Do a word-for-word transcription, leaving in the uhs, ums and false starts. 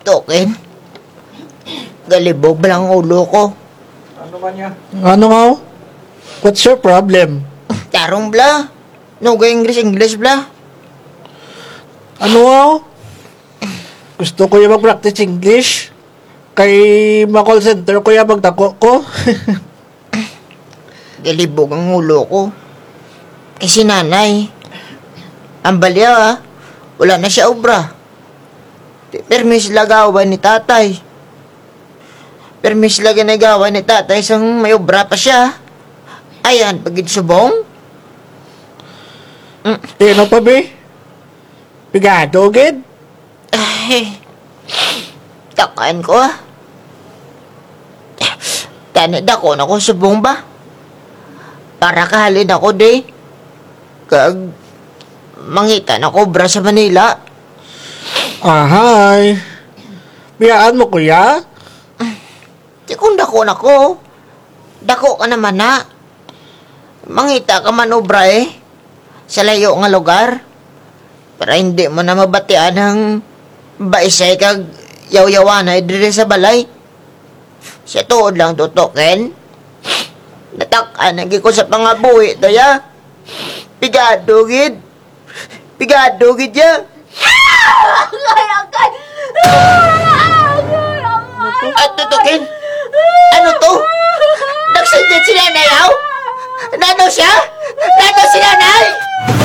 Token. Galibog bala ang ulo ko. Ano nga, oh? What's your problem? Tarong bala. No ga-English, English bala. Ano nga, oh? Gusto ko ya mag-practice English. Kay ma-call center ko ya pagdako ko. Galibog ang ulo ko. Kay si nanay, ang balya, ah, wala na siya obra. Ti pirmi sila gaway ni tatay. Pirmi sila gani gaway ni tatay sang may obra pa siya. Ay, an pa gid subong. Mm. Ti ano pa, bi? Pigado gid? Ay, takan ko, ah. Tani dako na ko subong ba? Para kahalin ako di. Kag mangita na ko obra sa Manila. Ahay. Biyaan mo ko ya? Ti kon dako na ko, dako ka na man na. Mangita ka man obra, eh, sa layo nga lugar. Para indi mo na mabatian ang baisay kag yawyawanay diri sa balay. Sa tuod lang to, Token. Natak-an na gid ko sa pangabuhi, daya. Pigado gid. Pigado gid ya. Agay, agay. Agay, agay. Ato, Token.